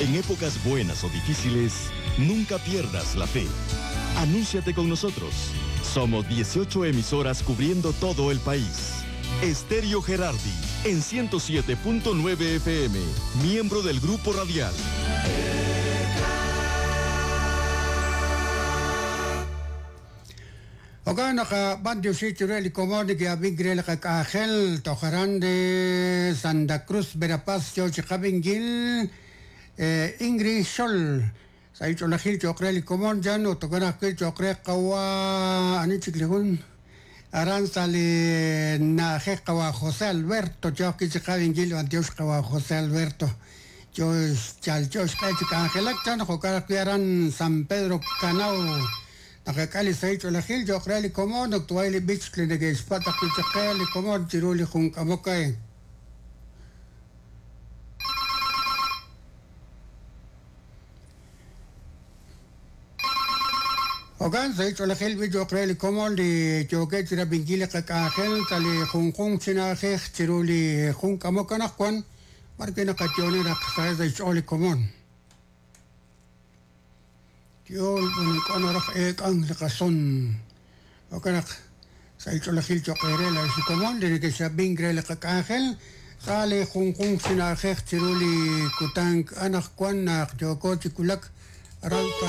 En épocas buenas o difíciles, nunca pierdas la fe. Anúnciate con nosotros. Somos 18 emisoras cubriendo todo el país. Estéreo Gerardi, en 107.9 FM, miembro del Grupo Radial. Jo'kan naq b'antioxi chiru li komon neke'ab'ink re li qak'anjel toj aran de Santa Cruz Verapaz yo chi qab'inkil Ingrid Xol sa' li ch'oolejil cho'q re li komon chan ut jo'kan ajwi' cho'q re qawa' ani chik li jun aran sa' li na'ajej qawa' José Alberto yo ajwi' chi qab'inkil b'antiox qawa' José Alberto yo xyalyo xq'e chi k'anjelak chan jo'kan ajwi' aran San Pedro Kanao Naqak'e li sahil ch'oolejil cho'q re li komon ut tway li b'ich li neke'xpatz' ajwi' chaq qe li komon chiru li jun k'amok a'in. Jo'kan, sahil ch'oolejil b'i cho'q re li komon li yookeb' chi rab'inkil li qak'anjel sa' li junjunq chi na'ajej chiru li jun k'amok anaqwan, b'arwi' naqayo'oni naq saheb' sa' xch'ool li komon. Yool b'an ink'a' naraj eek'ank li qason. Jo'kan naq sa' li ch'oolejil cho'q eere laa'ex li komon li nekex'ab'ink re li qak'anjel sa' li junjunq chi na'ajej chiru li kutan anaqwan naq yooko chi wulak aran sa'.